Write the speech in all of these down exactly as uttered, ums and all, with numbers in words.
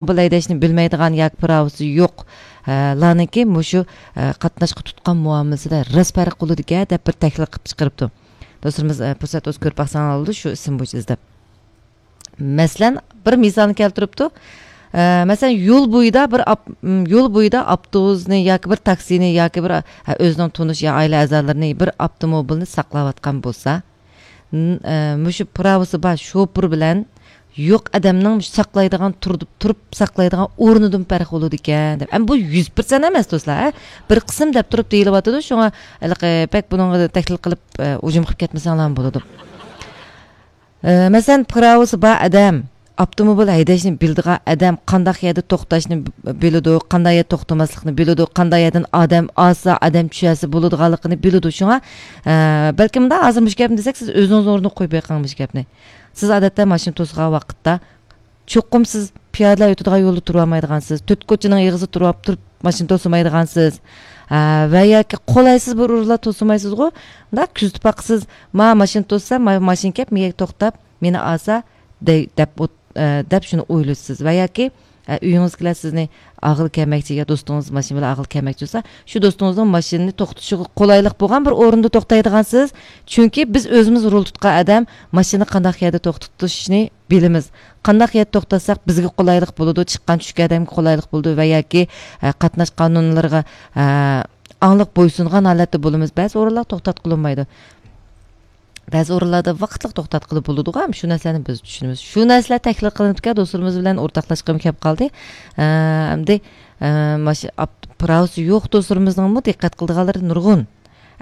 بۇ ھەيدەشنى بىلمەيدىغان ياكى پىراۋىسى يوق، ئە، لارنىڭكى مۇشۇ، ئە، قاتناشقا تۇتقان مۇئامىلىسىدە راست پەرق قىلىدىكەن دەپ بىر تەھلىل قىلىپ چىقىرىپتۇ. دوستلىرىمىز، ئە، پۇرسەت بولسا كۆرۈپ باقساڭلار بولىدۇ، شۇ ئىسىم بويىچە ئىزدەپ. مەسىلەن، بىر مىسالنى كەلتۈرۈپتۇ. ئە، مەسىلەن، يول بويىدا بىر ئاپ-، م، يول بويىدا ئاپتوبۇسنى ياكى بىر تاكسىنى ياكى بىر، ئە، ئۆزىنىڭ تونۇش يا ئائىلە ئەزالىرىنى بىر ئاپتوموبىلنى ساقلاۋاتقان بولسا، ن-، ئە، مۇشۇ پىراۋىسى بار شوپۇر بىلەن يوق ئادەمنىڭ مۇشۇ ساقلايدىغان، تۇرۇپ، تۇرۇپ ساقلايدىغان ئورنىدىن پەرق بولىدىكەن دەپ. ئەمما بۇ يۈز پىرسەنت ئەمەس، دوستلار، ھە؟ بىر قىسىم دەپ تۇرۇپ دېيىلىۋاتىدۇ، شۇڭا ھېلىقى بەك بۇنىڭغا تەھلىل قىلىپ، ئە، ھۇجۇم قىلىپ كەتمىسەڭلارمۇ بولىدۇ. ئە، مەسىلەن، پىراۋىسى بار ئادەم، ئاپتوموبىل ھەيدەشنى بىلىدىغان ئادەم قانداق يەردە توختاشنى ب-، بىلىدۇ، قانداق يەردە توختىماسلىقنى بىلىدۇ، قانداق يەردىن ئادەم ئالسا، ئادەم چۈشەرسە بولىدىغانلىقىنى بىلىدۇ. شۇڭا، ئە، بەلكىم مۇنداق ھازىر مۇشۇ گەپنى دېسەك، سىز ئۆزىڭىزنىڭ ئورنىغا قويۇپ بېقىڭ مۇشۇ گەپنى. سىز ئادەتتە ماشىنا توسىغان ۋاقىتتا، چوقۇم سىز پىيادىلەر ئۆتىدىغان يولدا تۇرۇۋالمايدىغانسىز، تۆت كوچىنىڭ ئېغىزىدا تۇرۇپ، تۇرۇپ ماشىنا توسىمايدىغانسىز. ھە، ۋە ياكى قولايسىز بىر ئورۇنلار توسىمايسىزغۇ؟ مۇنداق كۆزىتىپ باققىسىز، ما ماشىنا توسسا، ما-، ماشىنا كەپ، مېگە توختاپ، مېنى ئالسا، دەي-، دەپ ئوت-، ئە، دەپ شۇنى ئويلىسىز. ۋە ياكى، ئە، ئۆيىڭىزدىكىلەر سىزنى ئاغىلى كەلمەكچى يا دوستىڭىز ماشىنا بىلەن ئاغىلى كەلمەكچى بولسا، شۇ دوستىڭىزنىڭ ماشىنىنى توختىتىشىغا قولايلىق بولغان بىر ئورۇندا توختايدىغانسىز. چۈنكى بىز ئۆزىمىز رول تۇتقان ئادەم ماشىنا قانداق يەردە توختىتىشنى بىلىمىز. قانداق يەردە توختاتساق بىزگە قولايلىق بولىدۇ، چىققان چۈشكەن ئادەمگە قولايلىق بولىدۇ ۋە ياكى، ئە، قاتناش قانۇنلىرىغا، ئە، ئاڭلىق بويسۇنغان ھالەتتە بولىمىز. بەزى ئورۇنلار توختاتقىلى بولمايدۇ. بەزى ئورۇنلاردا ۋاقىتلىق توختاتقىلى بولىدىغۇ، ھەم شۇ نەرسىلەرنى بىز چۈشىنىمىز. شۇ نەرسىلەر تەھلىل قىلىنىپكەن، دوستلىرىمىز بىلەن ئورتاقلاشقۇم كەپ قالدى. ئە، ئەمدى، ئە، ماشىنا پىراۋىسى يوق دوستلىرىمىزنىڭمۇ دىققەت قىلىدىغانلىرى نۇرغۇن.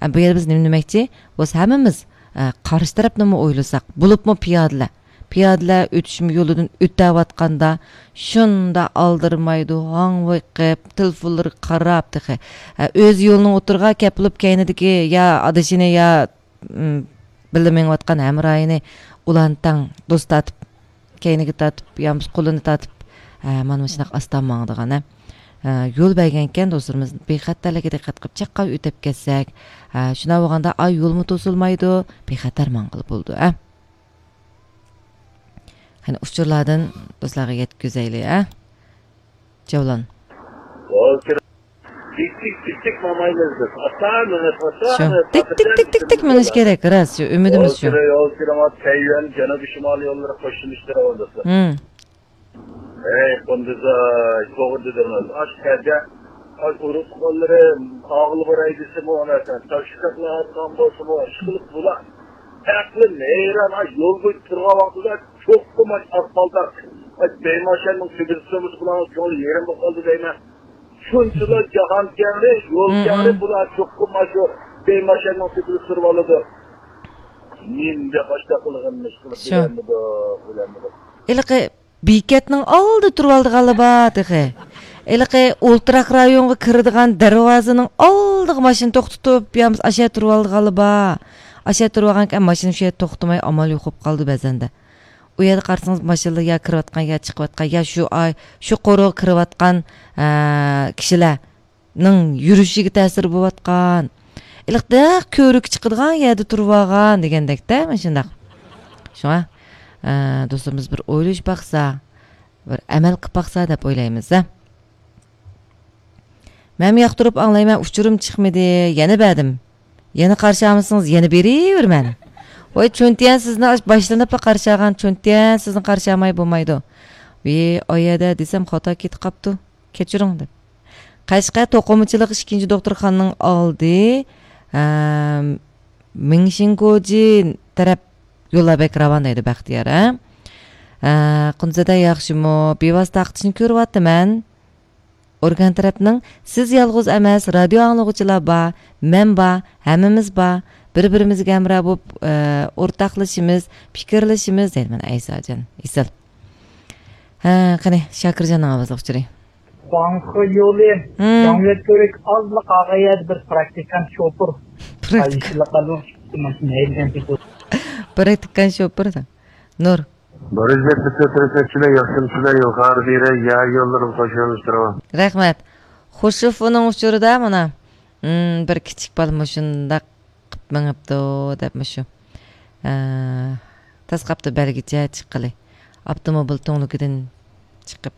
ئە، بۇ يەردە بىز نېمە دېمەكچى؟ بولسا ھەممىمىز، ئە، قارشى تەرەپنىمۇ ئويلىساق، بولۇپمۇ پىيادىلەر. پىيادىلەر ئۆتۈشمە يولىدىن ئۆتەۋاتقاندا، شۇنداق ئالدىرىمايدۇ، ھاڭۋېقىپ، تېلېفونلىرىغا قاراپ تېخى. ئە، ئۆزى يولنىڭ ئوتتۇرىغا كەپ بولۇپ، كەينىدىكى يا ئادىشىنى يا، ئىم، بىللە مېڭىۋاتقان ھەمراھىنى ئۇلارنى تەڭ دوست تارتىپ، كەينىگە تارتىپ، يا بولمىسا قولىنى تارتىپ، ئە، مانا مۇشۇنداق ئاستا ماڭىدىغان، ھە. ئە، يول بەرگەنكەن دوستلىرىمىز بىخەتەرلىككە دىققەت قىلىپ، چاققان ئۆتۈپ كەتسەك، ئە، شۇنداق بولغاندا، ئاي، يولمۇ توسۇلمايدۇ، بىخەتەر ماڭغىلى بولىدۇ، ھە. قېنى، ئۇچۇرلاردىن دوستلارغا يەتكۈزەيلى، ھە؟ جەۋلان. يول كىرىڭ، تىك، تىك، تىك، تىك ماڭمايمىز بىز. ئاستا مېڭىپ، ئاستا شۇ. مېڭىپ، تىك، تىك، تىك، تىك، تىك مېڭىش كېرەك، راست، شۇ، ئۈمىدىمىز شۇ. يول كىرىڭ، يول كىرىڭ، تەييۈەن جەنۇبىي شىمالىي يوللىرى قوشۇلۇشتۇرۇۋالدى. ھىم. ھەي، قۇندىزاي، توغرا دېدىڭىز. ئاشۇ يەردە، ئاي، ئۇرۇق تۇغقانلىرى ئاغىلى بار ئەيدىسىمۇ، ئاناكەن، تاشلىقلار ئاتقان بولسىمۇ، ئىشقىلىپ بۇلار. ئەقلىم ھەيران، ئاي، يول بويىدا تۇرغان ۋاقتىدا چوقۇم ئاي ئاسفالتتا، ئاي، بەيماشەننىڭ تۆپىسى تۇرمىسا بۇلارنىڭ كۆڭلى يېرىم بولۇپ قالدى دەيمەن. شۇنچىلا جاھان كەڭرى، يول مم، كەڭرى، مم. بۇلار چوقۇم ئاشۇ بەيماشەننىڭ تۆپىسى تۇرۇۋالىدۇ. نېمىدە ئاشۇنداق قىلغىنىنى ئىشقىلىپ شۇ. بىلەلمىدۇق، بىلەلمىدۇق. ھېلىقى بېكەتنىڭ ئالدىدا تۇرۇۋالىدىغانلار بار تېخى. ھېلىقى ئولتۇراق رايونغا كىرىدىغان دەرۋازىنىڭ ئالدىغا ماشىنا توختىتىپ، يا بولمىسا ئاشۇ يەردە تۇرۇۋالىدىغانلار بار. ئاشۇ يەردە تۇرۇۋالغانكەن، ماشىنا شۇ يەردە توختىماي، ئامال يوق بولۇپ قالدى بەزەندە. ئۇ يەردە قارىسىڭىز، ماشىنىلار يا كىرىۋاتقان، يا چىقىۋاتقان، يا شۇ ئاي، شۇ قورۇغا كىرىۋاتقان، ئە، كىشىلەر. نىڭ يۈرۈشىگە تەسىر بولۇۋاتقان، ئىللىق نەق كۆۋرۈككە چىقىدىغان يەردە تۇرۇۋالغان دېگەندەكتە، مانا شۇنداق. شۇڭا، ئە، دوستلىرىمىز بىر ئويلىشىپ باقسا، بىر ئەمەل قىلىپ باقسا دەپ ئويلايمىز، ھە. مەنمۇ ياقتۇرۇپ ئاڭلايمەن، ئۇچۇرۇم چىقمىدى، يەنە بەردىم. يەنە قارشى ئالمىسىڭىز، يەنە بېرىۋېرىمەن. ۋاي، چۈنتيەن سىزنى ئاش-، باشلىنىپلا قارشى ئالغان، چۈنتيەن سىزنى قارشى ئالماي بولمايدۇ. ۋى، ئاي يەدە دېسەم، خاتا كېتىپ قاپتۇ. كەچۈرۈڭ دەپ. قەشقەر توقۇمىچىلىق ئىككىنچى دوختۇرخانىنىڭ ئالدى، ئەم، مىڭشىنگوجى تەرەپ يوللار بەك راۋان دەيدۇ بەختىيار، ھە؟ ئە، قۇنزەدە ياخشىمۇ؟ بىۋاسىتە تارقىتىشنى كۆرۈۋاتىمەن. ئورگان تەرەپنىڭ سىز يالغۇز ئەمەس، رادىيو ئاڭلىغۇچىلار بار، مەن بار، ھەممىمىز بار. بىر-بىرىمىزگە ھەمراھ بولۇپ، ئە، ئورتاقلىشىمىز، پىكىرلىشىمىز دەيدىمەن ئەيساجان. ئېسىل. ھە، قېنى، شاكىرجاننىڭ ئاۋازلىق ئۇچۇرى. داڭخې يولى، ھىم. داڭيۈەن كۆۋرۈك ئازلا قالغان يەردە بىر پراكتىكانت شوپۇر. پراكتىكا-، ھەيدىگەن تېپىپ. پراكتىكانت شوپۇر. نۇر. بارىز دەپ بىتتە تىرىشەتچىلەر ياخشىمۇسىلەر يول خارىدىرى يا يوللىرىم قوشۇلۇشتۇرۇۋا. رەھمەت. خۇشۇفنىڭ ئۇچۇرىدا مانا، ھىم، بىر كىچىك بالا مۇشۇنداق قىپ مېڭىپتۇ دەپ مۇشۇ. ئە، تاس قاپتۇ بەلگىچە چىققىلى. ئاپتوموبىل تۈڭلۈكىدىن چىقىپ.